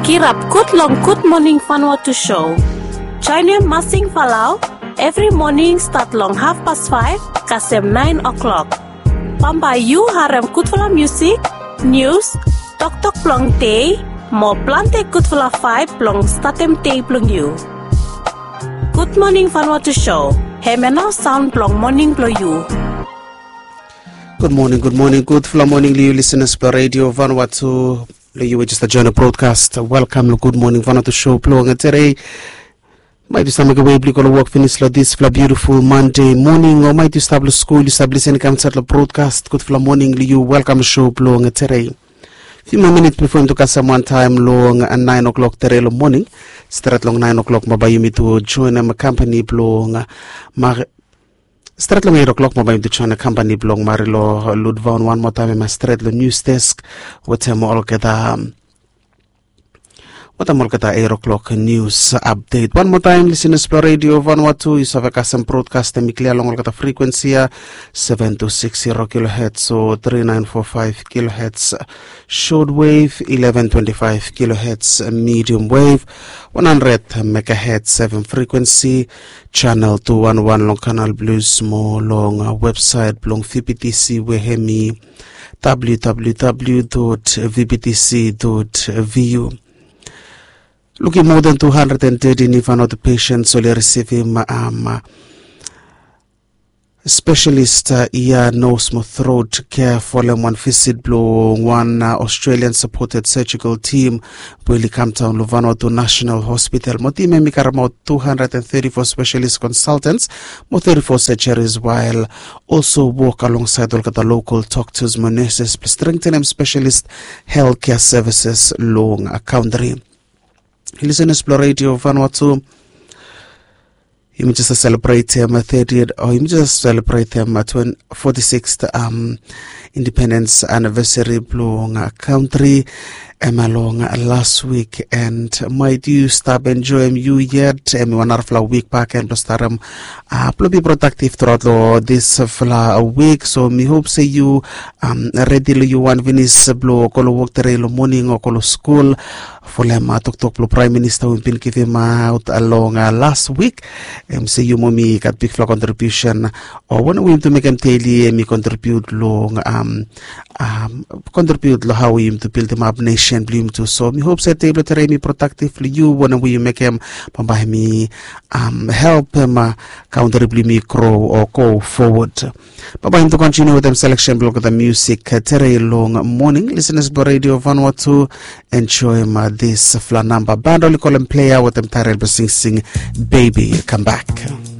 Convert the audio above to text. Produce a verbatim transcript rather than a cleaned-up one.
Kirap gud long Gud Moning Vanuatu show. Joenem Masing Falau evri moning stat long hafpas faef kasem naen o'klok. Bambae yu harem gudfala musik, nius, toktok blong dei, mo plante gudfala vaeb blong statem dei blong yu. Gud Moning Vanuatu show, hemia nao saon blong moning blong yu. Gud moning, gud moning, gudfala moning long yu lisenas blong Redio Vanuatu. Long yu we jes joen long brodkas, welkam long Gud Moning Vanuatu show blong tedei. Maet yu stap mekem we blong yu go long wok finis long disfala biutiful Mande moning, o maet yu stap long skul, yu save lisin kam insaed long brodkas gudfala moning long yu, welkam long show blong tedei. Fiu moa minit bifo yumi tu kasem wantaem long naen o'klok tedei long moning. Stret long naen o'klok bambae yumi tu joenem kampani blong Mar- Stret long eit o'klok bambae yumi tu joenem kampani blong Marilo Ludvaon wan moa taem, hemia stret long nius desk wetem olgeta, wetem olgeta eit o'klok nius apdet. Wan moa taem, lisenas blong Redio Vanuatu, yu save kasem brodkas hemi klia long olgeta frikwensi ya, seven two six zero kilohertz o three nine four five kilohertz shortwave, eleven twenty-five kilohertz medium wave, one hundred megahertz F M frequency, channel two one one long Canal Plus mo long, uh, website blong V B T C we hemi W W W dot V B T C dot V U. Lukim moa than two hundred and thirty ni Vanuatu patients oli risivim, um, specialist, uh, ia, nose mo throat care folem wan visit blong wan, uh, Australian supported surgical team we oli kam daon long Vanuatu National Hospital. Mo tim hemi karemaot two hundred and thirty-four specialist consultants mo thirty-four surgeries, while also wok alongsaed olgeta local doctors mo nurses blong strengthenem specialist healthcare services long, uh, country. Lisenas blong Redio Vanuatu, yumi jes selebretem, uh, thirtieth, o yumi jes selebretem, uh, twen- forty-sixth, um, independence anniversary blong, uh, country, hemia long, uh, las wik, and maet yu stap enjoem yu yet, hemi wan narafala wik bakegen blong starem, uh, blong be productive throughout long disfala wik. So mi hop se yu, um, redi long yu wan finis blong go long wok tedei long moning o go long skul, folem, uh, toktok blong Praem Minista we hemi bin givimaot, uh, long, uh, las wik. Hemi se yu mo mi gat bigfala kontribiusen, o wanem we yumi tu mekem deli, hemi kontribiut long, um, um, kontribiut long hao we yumi tu bildimap nesen blong yumi tu. So mi hop se dei blong tedei hemi productive long yu, wanem we yu mekem bambae hemi, um, helpem, uh, country blong yumi grow o go forward. Bambae yumi tu kontiniu wetem selection blong olgeta musik, uh, tedei long moning. Lisenas blong Redio Vanuatu, enjoem, uh, disfala namba. Band oli kolem Player wetem taetel blong Sing Sing Baby. Kam bak.